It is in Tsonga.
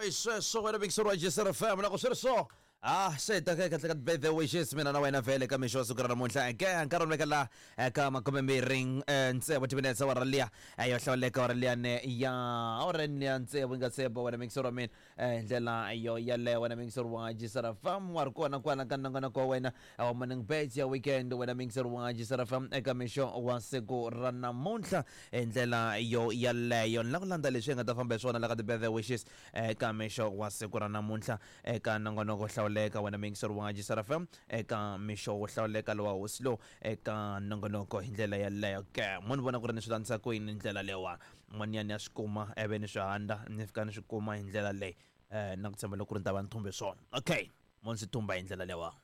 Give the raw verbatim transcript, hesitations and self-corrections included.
I sweswo wena mixer wa J S R F M, loko swi ri so ah se ta ka kahle ka birthday wishes, mina na wena vhele ka mixo wa siku ra namuntlha ke nkarhi wa veka la eka makumembirhi tsevu timinetse, awara liya yo hlawuleka, awara liyani ya awureni ya tsevu yi nga sebo. Wena mixer wa mina, hi ndlela yo yaleyo, wena mixer wa J S R F M, wa ri kona kwala ka nongonoko wa wena wa Morning Birds ya weekend, wena mixer wa J S R F M, eka mixo wa siku ra namuntlha hi ndlela yo yaleyo. Ni la ku landza leswi hi nga ta famba hi swona la ka ti-birthday wishes eka mixo wa siku ra namuntlha eka nongonoko hlawuleka, wena mixer wa J S R F M, eka mixo wo hlawuleka lowa hosi lowu eka nongonoko hi ndlela yaleyo ke. Mo ni vona ku ri ni swi landzisa ku yini ndlela leyiwani, n'wanyana ya swi kuma ivi ni swi handa ni fika ni swi kuma hi ndlela leyi, um na ku tshemba loko ku ri ni ta va ni thumbe swona. Okay, mo ni swi thumba hi ndlela leyiwani.